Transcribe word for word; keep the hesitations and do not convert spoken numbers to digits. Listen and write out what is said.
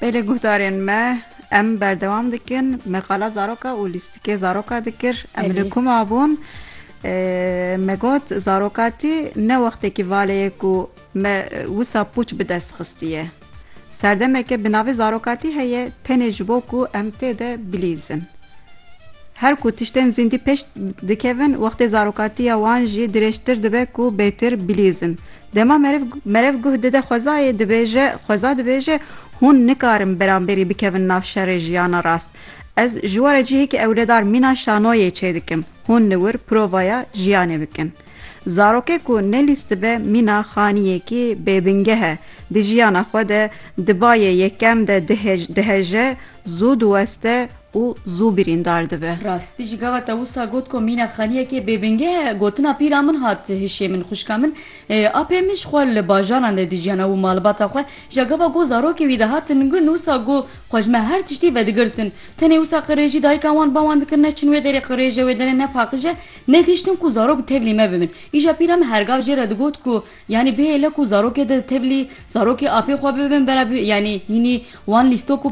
Belê guhdarên me, em berdewam dikin. Me qala zaroka û lîstikê zaroka dikir. Em Belê. Li ku mabûn? E, me got, zarokatî ne wextekî valeyê ku me, e, wisa pûç bi dest xistiye. Serdemeke bi navê zarokatî heye, tenê ji bo ku em tê de bilîzin. Her ku tiştên zîndî pêş dikevin, wextê zarokatiya wan jî dirêjtir dibe ku bêtir bilîzin. Dema merev, merev guh dide xwezayê, dibêje, xweza dibêje, hûn nikarin beramberî bikevin nav şerê jiyana rast. Ez ji we re cihekî ewledar mîna şanoyê çêdikim. Hûn li wir provaya jiyanê bikin. Zarokê ku nelîstibe mîna xaniyekî bêbingeh e. Di jiyana xwe de di bayê yekem de dihej-, diheje, zû diweste û zû birîndar dibe. Rastî jî gava te wisa got ku mîna xaniyekê bêbingeh e, gotina pîra min hat hişê min, xwişka min, e, apê min ji xwe li bajaran de dijiyana û malbata xwe, ji gava ku zarokê wî dihatin gund, wisa ku xwe ji me her tiştî vedigirtin. Tenê wisa qirêjî dayika wan ba wan dikir, ne çin wê derê qirêj e, wê derê ne paqij e, ne dihiştin ku zarok tevlî me bibin. Îja pîra min her gav jê re digot ku, yanî bihêle ku zarokê de tevlî, zarokê apê xwe bibin, bera bi, yanî hînî wan lîstok û